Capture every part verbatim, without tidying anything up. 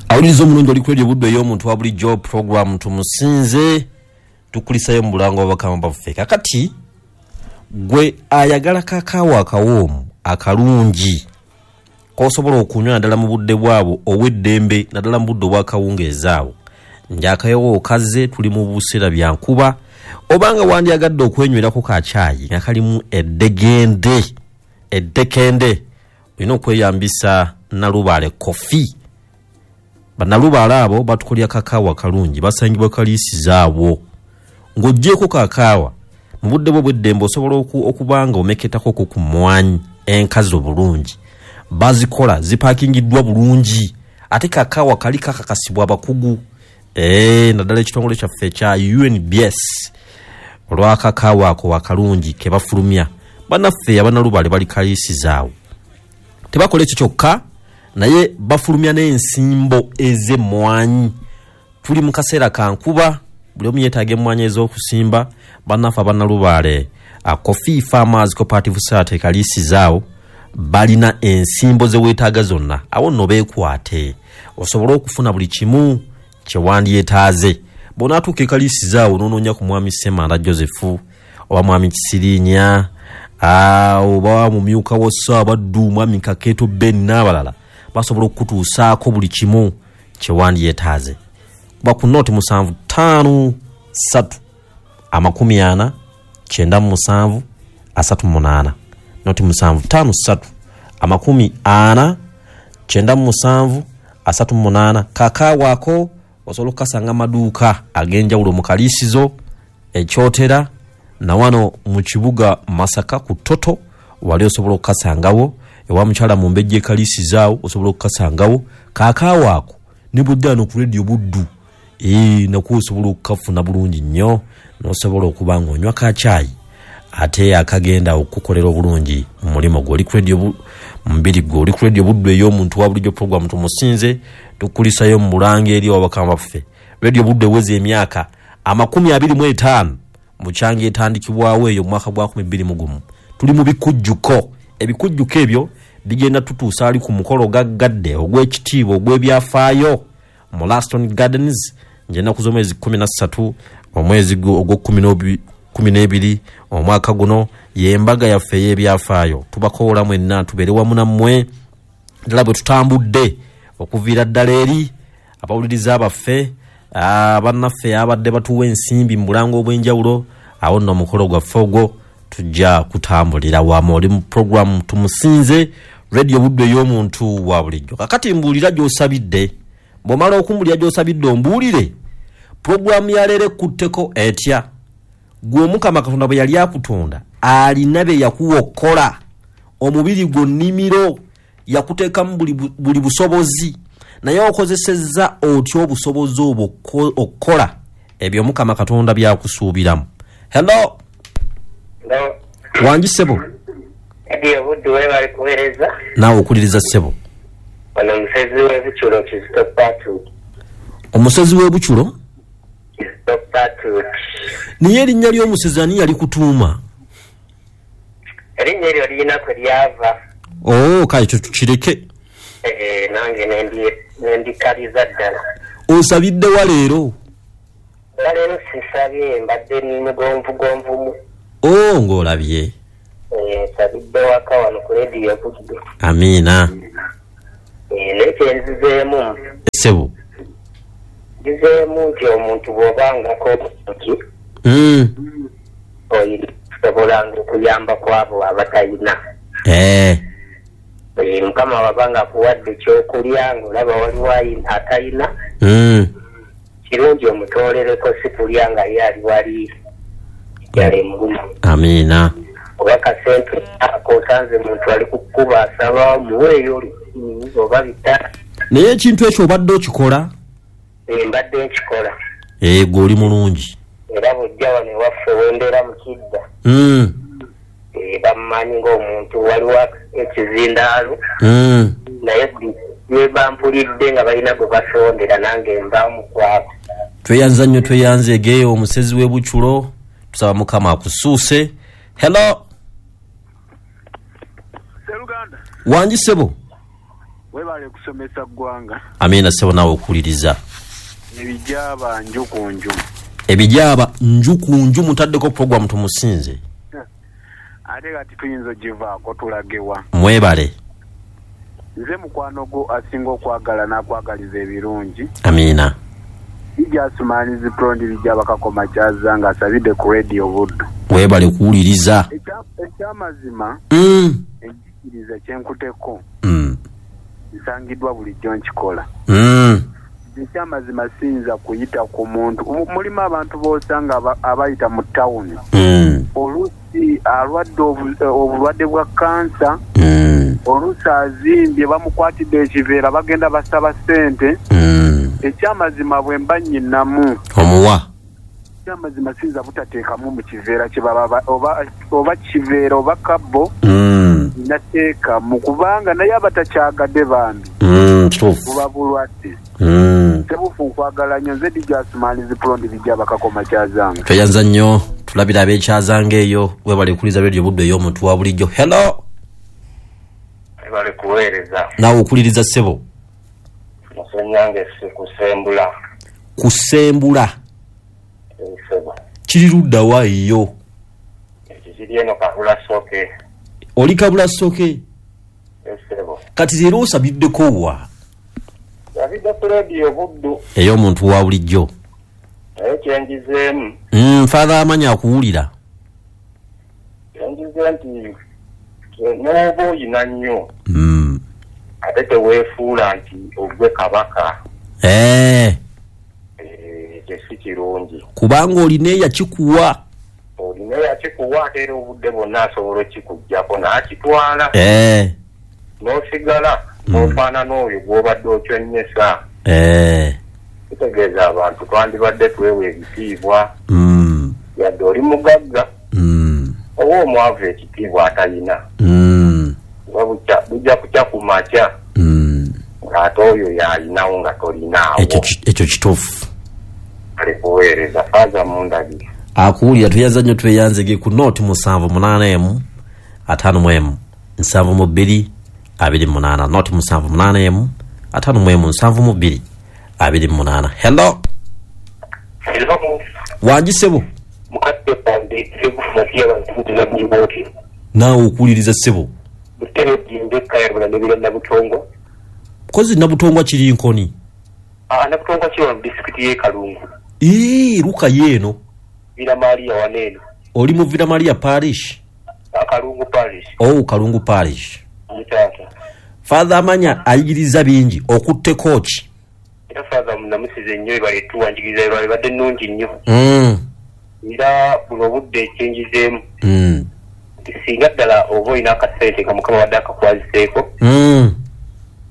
Awuliriza omulungi oli ku Radio Buddu ey'omuntu wa bulijjo, program Tumusinze, tukulisayo mu bulango bw'abakama baffe. Kakati gwe ayagala kakaawa akawoomu akalungi k'osobola okunywa naddala mu budde bwabwo obw'eddembe, naddala mu budde obw'akawungeezi awo, njakayowo okaze, tuli mu buseera bya nkuba, obanga wandyagadde okwenywerako ka caayi nga kalimu eddegende eddekende, olina okweyambisa Nalubaale Coffee. Bannalubaale abo batukolya kakaawa kalungi, basangibwa kaliisiza awo. Ng'oggyeko kakaawa, mu budde bwo bw'eddembe osobola okuba nga omeketako ku mmwanyi enkazi obulungi. Bazikola zipaakingiddwa bulungi, ate kakaawa kali kakakasibwa abakugu, ee naddala ekitongole kyaffe ekya U N B S olw'akakaawa ako akalungi ke bafulumya. Bannaffe abannalubaale bali kaliisiza awo. Tebakola ekyo kyokka, naye bafulumya n'ensimbo ez'emmwanyi. Tuli mu kaseera ka nkuba, buli omu yeetaaga emmwanyi ez'okusimba. Bannaffe abannalubaale Coffee Farmers Cooperative Society kaliisiza awo balina ensimbo ze weetaaga zonna. Awo nno beekwate osobole okufuna buli kimu kye wandyetaaze. Bw'onaatuuka e kaliisiza awo n'onoonya ku mwami Ssemanda Joseph oba mwami Kisiriinya, oba mumyuka wa Ssaabaddu mwami Kakeeto Ben n'abalala, basobola okukutuusaako buli kimu kye wandyetaaze. Kuba ku nooti musanvu ttaano ssatu amakumi ana kyenda mu musanvu asatu munaana, nooti musanvu ttaano ssatu amakumi ana kyenda mu musanvu asatu munaana. Kakaawa ako osobola okukasanga amaduuka ag'enjawulo mu Kaliisizo, Ekyotera, na wano mu kibuga Masaka ku Toto wali osobola okukasangawo. Ewa mukyala Mumbejja e Kaliisizo awo osobola okukasangawo. Kakaawa ako ne bw'ojja wano ku Radio Buddu, ee nakwo osobola okukafuna bulungi nnyo, n'osobola okuba ng'onywa ka caayi ate akagenda okukukolera obulungi mu mulimu gwo. Oli ku Radio mubiri gwo, oli ku Radio Buddu ey'omuntu wa bulijjo, program Tumusinze, tukulisayo mu bulango eri abakama baffe. Radio Buddu eweza emyaka amakumi abiri mu etaano mu kyanga etandikibwawo eyo mu mwaka gwa nkumi bbiri mu gumu. Tuli mu bikujjuko. Ebikujjuko ebyo bigenda tutuusa ali ku mukolo gaggadde ogw'ekitiibwa ogw'ebyafaayo mu Laston Gardens ng'ennaku z'omwezi kkumi na ssatu omwezi ogw'okkumi n'ebiri omwaka guno, y'embaga yaffe ey'ebyafaayo. Tubakoola mwenna tubeere wamu nammwe ddala bwe tutambudde okuviira ddala eri abawuliriza baffe, bannaffe abadde batuwa ensimbi mu bulango obw'enjawulo. Awo nno omukolo gwaffe ogwo tujja kutambulira wamu. Oli mu program Tumusinze, Radio Buddu ey'omuntu wa bulijjo. Kakati mbuulira gy'osabidde. Bw'omala okumbulira gy'osabidde ombuulire puroguramu ya leero ekutteko etya. Gwe Omukama Katonda bwe yali akutonda alina bye yakuwa okukola. Omubiri gwo nnimiro, yakuteekamu buli, buli busobozi, naye okozesezza otya obusobozi obwo okukola ebyo Omukama Katonda by'akusuubiramu? Hello. Hello. Wangi ssebo. Radio Buddu webale kuweereza. Naawe okuliriza ssebo. Ono omusezi w'Ebukyulo Kizito Patrick. Omusezi w'Ebukyulo? Kizito Patrick. Naye erinnya ly'omusezi ani yali kutuuma? Erinnya eryo lirina kwe lyava. Oh, kale ekyo tukireke. Eh, nange nendikaliza ddala. Osabidde wa leero? Leero sisabye, mbadde mugonvugonvumu. Oh, ng'olabye. Eh, nsabidde waka wano ku Radio Buddu. Amiina. Eh, naye kyenzizeemu. Ssebo. Nzizeemu nti omuntu bw'obangako obusobozi, Mm. oyina okusobolanga okuyamba ku abo abatayina. Eh. Eh, Mukama wabanga akuwadde ekyokulya ng'olaba waliwo atayina, Mm. kirungi omutoolereko, si kulya nga ye ali wali yali muguma. Amiina. Oba kasente ako osanze muntu ali kukuba asaba muweeyo oba bitaano. Naye ekintu ekyo obadde okikola? Eh, mbadde nkikola. Eh, gwe oli mulungi. Era bw'ojja wano ewaffe wembeera mu Kidda. Mm. Eh, bammanyi ng'omuntu waliwo ekizindaalo. Mm. Naye buli lwe bampulidde nga balina gwe basondera nange nvaamu kwabo. Tweyanza nnyo, tweyanzeege omusezi w'Ebukyulo, tusaba Mukama akusuuse. Hello. Sseruganda. Wangi ssebo. Webale kusomesa ggwanga. Amiina ssebo, naawe okuwuliriza. Ebijaaba nju ku nju. Ebijaaba nju ku nju, mutaddeko puroguramu tumusinze. Ate kati tuyinza ogivaako tulagewa. Mwebale. Nze mukwano gwo asinga okwagala n'akwagaliza ebirungi. Amiina. Ijja asumaanizi prondi bijja bakakoma kyazanga asabidde ku Radio Buddu. Webale kuwuliriza. Ekyamazima mm. enjigiriza kyenkuteko mm. nsangiddwa bulijjo nkikola. Mm. Ekyamazima siyinza kuyita ku muntu. Mulimu abantu b'osanga abayita mu tawuni. Mm. Oluusi alwadde obulwadde bwa kansa. Mm. Oluusi azimbye bamukwatidde ekiveera bagenda basaba ssente. Mm. Ekyamazima bwe mba nnyinamu. Omuwa. Ekyamazima siyinza butateekamu mu kiveera kye baba oba, oba kiveera oba kabbo. Mm. Nateekamu kubanga naye abatakyagadde bambi. Mm, kituufu. Buba bulwadde. Mm. Tebufu nkwagala nnyo, nze D J Asumanizi Prondi bijja bakakoma kyazanga. Tweyanza nnyo, tulabira ab'ekyazanga eyo, webale kuwuliriza Radio Buddu ey'omuntu wa bulijjo. Hello. Webale kuweereza. Naawe okuwuliriza ssebo. Musenyange si kusembula. Kusembula. Ssebo. Kiri ludda wa eyo? Ekyo kiri eno Kabula Soke. Oli Kabula Soke? Ssebo. Kati leero osabiddeko wa? Nsabidde ku Radio Buddu. Ey'omuntu wa bulijjo. Naye kyenjizeemu. Mm, Father Amanya akuwulira. Kyenjize nti n'oba oyina nnyo. Mm. Ate teweefuula nti ogwe kabaka. Eh. Ekyo si kirungi. Kubanga olina eyakikuwa. Olina eyakikuwa ate era obudde bwonna asobola okikuggyako n'akitwala. Eh. N'osigala n'ofaanana oyo gw'obadde okyonnyesa. Eh. Kitegeeza abantu twandibadde twewa ebitiibwa. Mm. Yadde oli mugagga. Mm. Oba omwavu ekitiibwa atalina. Mm. Kuba bujja kukya ku makya. Mm. Ng'ate oyo y'alinawo nga tolinaawo. Ekyo kituufu. Ale kuweereza Faaza Mundabire. Akuwulira, tweyanza nnyo, tweyanzege ku nooti musanvu munaana emu ataano mu emu nsanvu mu bbiri abiri mu munaana. Nooti musanvu munaana emu ataano mu emu nsanvu mu bbiri abiri mu munaana. Hello. Hello. Wangi ssebo. Mukadde wange Sebufu Matiya Bantuuza Mujiboti. Naawe okuwuliriza ssebo. Butebe jimbe Kayabula nebira Nabutongwa. Kozi Nabutongwa kiri Nkoni? Ah, Nabutongwa kiri mu disitulikiti y'e Kalungu. Ee, luka yeeno. Villa Maria waneeno. Oli mu Villa Maria Parish? Kalungu Parish. Oh, Kalungu Parish. Mutaata. Father Amanya ayigiriza bingi, okutteko ki? Era Father munamusize nnyo ebale tuwanjigiriza ebale badde nnungi nnyo. Mm. Era buno obudde ekyenjizeemu. Mm. Singa ddala oba olina akasente nga Mukama wadde akakwaziseeko. Mm.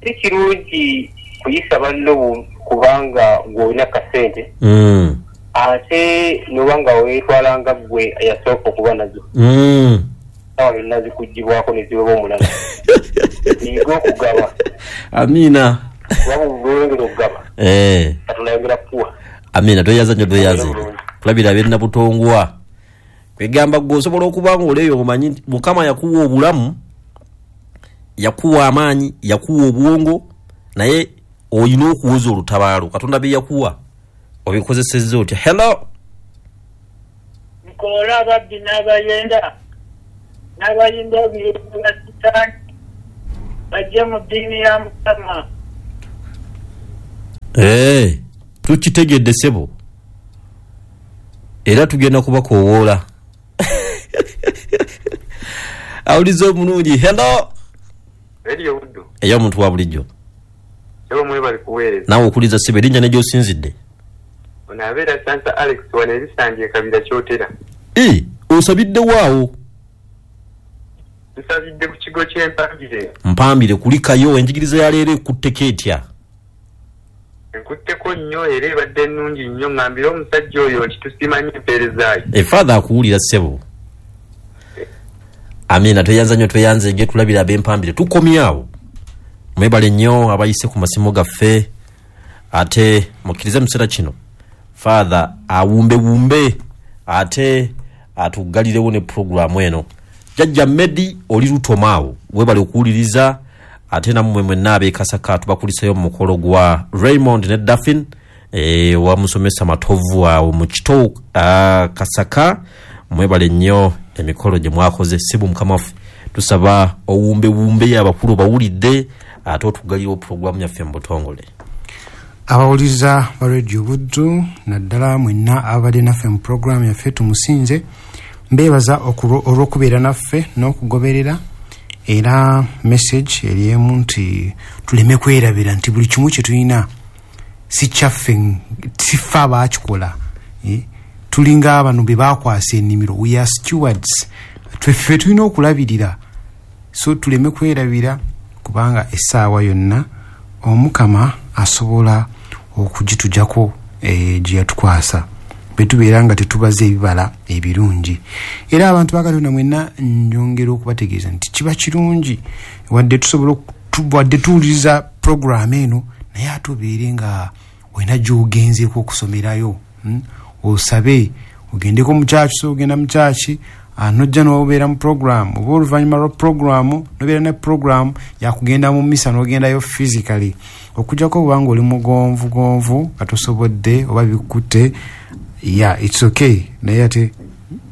Si kirungi kuyisa banno kubanga gw'olina akasente. Mm. Ate n'oba nga weetwala nga ggwe eyasooka okuba nazo. Mm. Awo yonna zikuggyibwako ne ziweba omulala. Yiga okugaba. Amiina. Kuba bw'oyongera okugaba. Eh. Katonda ayongera kukuwa. Amiina, tweyanza nnyo, tweyanze. Tulabira ab'e Nabutongwa. Kwegamba ggwe osobola okuba ng'oleeyo omanyi nti Mukama yakuwa obulamu, yakuwa amaanyi, yakuwa obwongo, naye olina okuwoza olutabaalo. Katonda bye yakuwa obikozesezza otya? Hello. Nkola ababbi n'abayenda n'abayinda ebiyinda sitaani bajje mu ddiini ya Mukama. Eh, tukitegedde ssebo. Era tugenda kubakoowoola. Awuliza omulungi. Hello. Radio Buddu. Ey'omuntu wa bulijjo. Ssebo mwebale kuweereza. Naawe okuwuliriza ssebo, erinnya ne gy'osinzidde. Ono abeera Sansa Alex wano erisanje Kabira Kyotera. Ee, osabidde waawo? Nsabidde ku kigo ky'Empambire. Mpambire kulikayo, enjigiriza ya leero ekutteko etya? Enkutteko nnyo era ebadde nnungi nnyo, ŋŋambire omusajja oyo nti tusiima nnyo empeereza ye. E Father akuwulira ssebo. Amiina, tweyanza nnyo, tweyanze tulabira ab'Empambire. Tukomyawo. Mwebale nnyo abayise ku masimu gaffe, ate mukkirize mu kiseera kino Father awumbewumbe ate atugalirewo ne puroguramu eno. Jjajja Medi oli lutomaawo, webale okuwuliriza. Ate nammwe mwenna ab'e Kasaka tubakulisayo mu mukolo gwa Raymond ne Daphine e, wa musomesa Matovu awo mu Kito uh, Kasaka. Mwebale nnyo emikolo gye mwakoze. Sibu mukama waffe, tusaba owumbewumbe abakulu bawulidde ate otuggaliwo puroguramu yaffe mu butongole. Abawuliriza ba Radio Buddu naddala mwenna ababadde naffe mu puroguramu yaffe Tumusinze, mbeebaza olw'okubeera naffe n'okugoberera. Era message eri emu nti tuleme kwerabira nti buli kimu kye tulina si kyaffe, si ffe abaakikola. Eh? Tulinga abano be bakwasa ennimiro, we are stewards, tweffe tulina okulabirira. So tuleme kwerabira kubanga essaawa yonna Omukama asobola okugitujjako eh, gye yatukwasa bwe tubeera nga tetubaze ebibala ebirungi. Era abantu ba Katonda mwenna nyongera okubategeeza nti kiba kirungi wadde tusobola wadde tuwuliriza puroguramu eno, naye ate obeere nga olina gy'ogenzeeko okusomerayo, hmm? Osabe ogendeko mu kyaki, so ogenda mu kyaki nojja n'obeera mu puroguramu, oba oluvannyuma lwa puroguramu nobeera ne puroguramu yakugenda mu misa n'ogendayo physically. Okujjako obanga oli mugonvugonvu nga tosobodde oba bikutte, yeah, it's okay, naye ate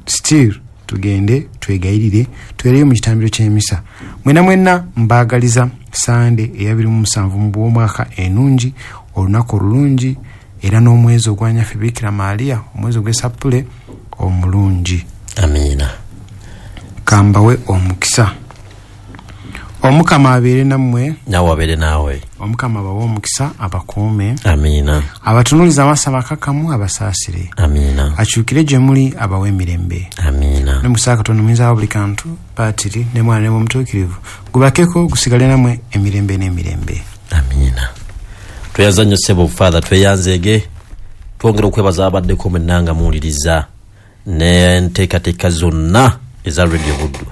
still tugende twegayirire twereyo mu kitambiro ky'emisa. Mwena mwenna mbaagaliza Sande eyabiri mu musanvu mu bw'omwaka enungi, olunaku olulungi, era n'omwezi ogwa Nyaffe Bikira Maria, omwezi ogw'Esappule omulungi. Amiina. Kambawe omukisa. Omukama abeere nammwe, nawe abeere naawe. Omukama abawe omukisa, abakuume. Amiina. Abatunuulize amaaso amakakkamu, abasaasire. Amiina. Akyukire gye muli, abawe emirembe. Amiina. Ne mukisa Katonda omuyinza wa buli kantu, Patiri ne Mwana ne Mwoyo gubakeko gusigale nammwe emirembe n'emirembe. Amiina. Tweyanza nnyo ssebo Father, tweyanzeege. Twongera okwebaza abaddeko mwenna nga muwuliriza n'enteekateeka zonna eza Radio Buddu.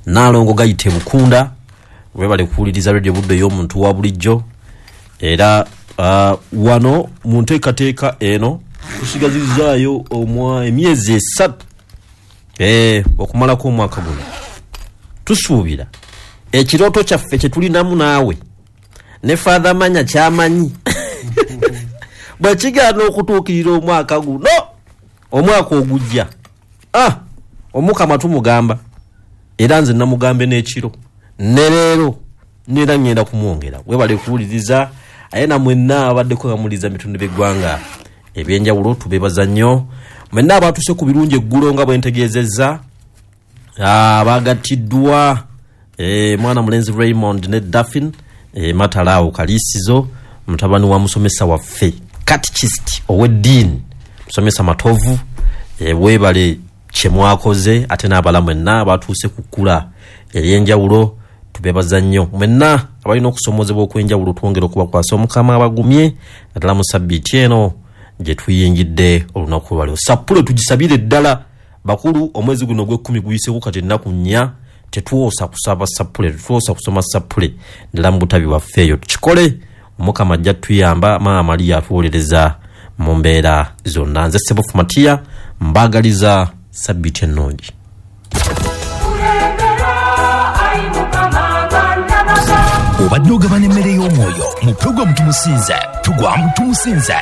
Naalongo gayite Bukunda, webale kuwuliriza Radio Buddu ey'omuntu wa bulijjo. Era uh, wano mu nteekateeka eno tusigazizaayo omwa emyezi esatu eh, okumalako omwaka guno. Tusuubira ekirooto kyaffe kye tulinamu naawe ne Father Manya kyamanyi bwe kigaana okutuukirira omwaka guno, omwaka ogujja, ah, Omukama tumugamba, era nze namugambe n'ekiro ne leero nera ngenda kumwongera. Webale kuwuliriza aye na mwenna abaddeko nga muwuliriza bitundu by'eggwanga ebyenjawulo, tubeebaza nnyo mwenna abaatuuse ku birungi eggulo nga bwe ntegeezezza, abagattiddwa eh, mwana mulenzi Raymond ne Daphine eh, Matalaawo Kaliisizo, mutabani wa musomesa waffe catechist ow'eddiini musomesa Matovu. E, weebale kye mwakoze, ate n'abala mwenna abatuuse ku kkula ery'enjawulo tubeebaza nnyo. Mwenna abalina okusomoozebwa okw'enjawulo twongera okubakwasa Omukama abagumye naddala mu sabbiiti eno gye tuyingidde olunaku lwaleero. Sappule tugisabire ddala bakulu, omwezi guno ogw'ekkumi guyiseko kati ennaku nnya, tetwosa kusaba sappule, tetwosa kusoma sappule ddala mu butabi bwaffe eyo tukikole. Omukama ajja tuyamba, Maama Maria atuwolereza mu mbeera zonna. Nze Ssebofu Matiya mbaagaliza sabbiiti ennungi. Obadde ogabana emmere y'omwoyo mu puroguramu Tumusinze, tugwa mu Tumusinze.